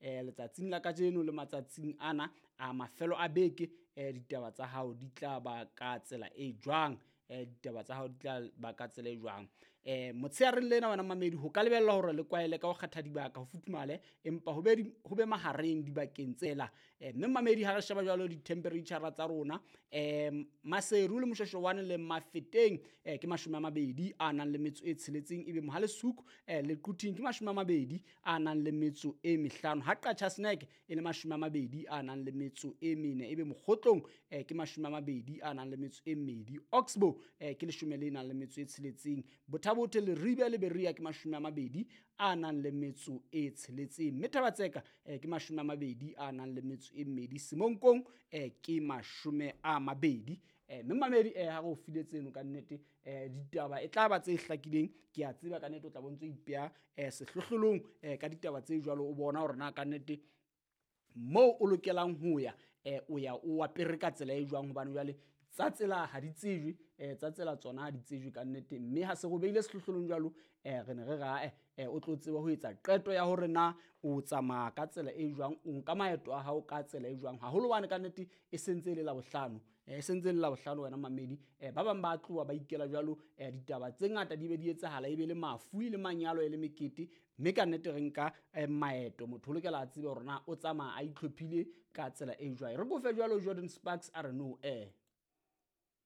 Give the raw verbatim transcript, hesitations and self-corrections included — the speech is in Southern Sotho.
eh, letsatsing la kajeno le matsatsing ana a mafelo a beke eh, ditaba tsa hao di tla ba ka tsela e jwang. Eh, ditaba tsa hao di tla ba ka tsela e jwang. Eh, motsheareng lena wena mamedi ho ka lebellwa hore le kwaele ka ho kgetha dibaka ho futhumale, empa ho be di, ho be mahareng dibakeng tsela. Eh, mme mamedi ha re sheba jwalo di-temperature tsa rona, eh, Maseru le Moshweshwane le Mafeteng eh, ke mashome a mabedi a nang le metso e tsheletseng, ebe Mohale'shoek eh, le Quthing ke mashome a mabedi a nang le metso e mehlano, ha Qacha's Nek e le mashome a mabedi a nang le metso e mene, ebe Mokgotlong eh, ke mashome a mabedi a nang le metso e mmedi, Oxbow eh, ke leshome le nang le metso e tsheletseng, Botha-Bothe, Leribe le Berea ke mashome a mabedi a nang le metso e tsheletseng, mme Thaba-Tseka eh, ke mashome a mabedi a nang le metso e mmedi, Semonkong eh, ke mashome a mabedi. Eh, mme mamedi eh, ha re o file tseno ka nnete eh, ditaba e tla ba tse hlakileng. Ke a tseba ka nnete o tla bo ntso ipeha eh, sehlohlolong eh, ka ditaba tse jwalo, o bona hore na ka nnete moo o lokelang ho ya eh, o ya o apere ka tsela e jwang, hobane jwale tsa tsela ha di tsejwe, eh, tsa tsela tsona ha di tsejwe ka nnete. Mme ha se re o beile sehlohlolong jwalo eh, re ne re ra eh, eh, o tlo tseba ho etsa qeto ya hore na o tsamaya ka tsela e jwang, o nka maeto a hao ka tsela e jwang, haholo hobane ka nnete e sentse e le Labohlano, eh, e sentse e le Labohlano wena mamedi. Eh, ba bang ba tloha ba ikela jwalo, eh, ditaba tse ngata di be di etsahala, e be le mafu, e le manyalo, e le mekete, mme ka nnete re nka eh, maeto. Motho o lokela a tsebe hore na o tsamaya a itlhophile ka tsela e jwang. Re kofe jwalo Jordan Sparks a re no eh.